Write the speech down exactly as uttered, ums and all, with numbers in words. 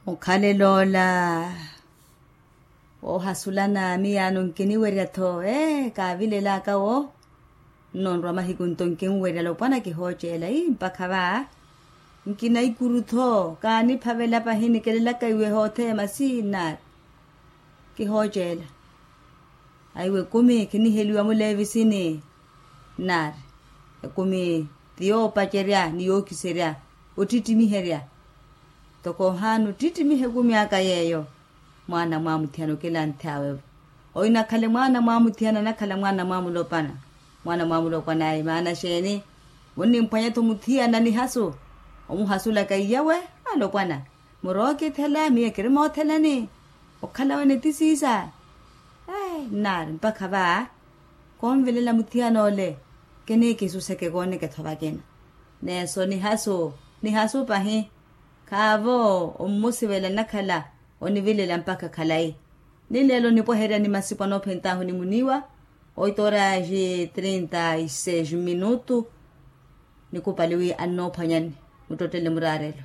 Mukhalel'ola woohasulana miyaano nkiniwerya-tho ee kaavilelaka wo. Nno nrwa mahiku nto nkinwerya alopwana kihooceela ii mpakha va. Nkina ikuru-tho kaaniphavela pahi nikelelaka iwe hothema sii nnaari. Kihooceela aiwe ekumi khiniheliwa muleevisini. Nnaari ekumi ti yoopacerya ni yookiserya ottittimiherya. Ntoko ohaana ottittimiha ekumi aka yeeyo. Mwaana mwaamuthiyana okilanthawe-vo oinakhale mwaana mwaamuthiyana anakhala mwaana mwaamulopana. Mwaana mwaamulopana ayi maana xeeni? Munnimphwanya-tho muthiyana nihasu omuhasulaka iyawe alopwana. Murookithela miyo kiri moothelani. Okhala wene ti siisa. Nnaari mpakha va konvelela muthiyana ole. Kinikisuseke kooneke-tho vakina. Neeso nihasu nihasu pahi. Khaavo ommusivela nnakhala onivilela mpakha khalayi. Ni leelo nipweherya ni masipu anoophent'ahu ni muniiwa. Oito horas e trinta e seis minutu. Nikupali wi annoophwanyani muttottele muraarelo.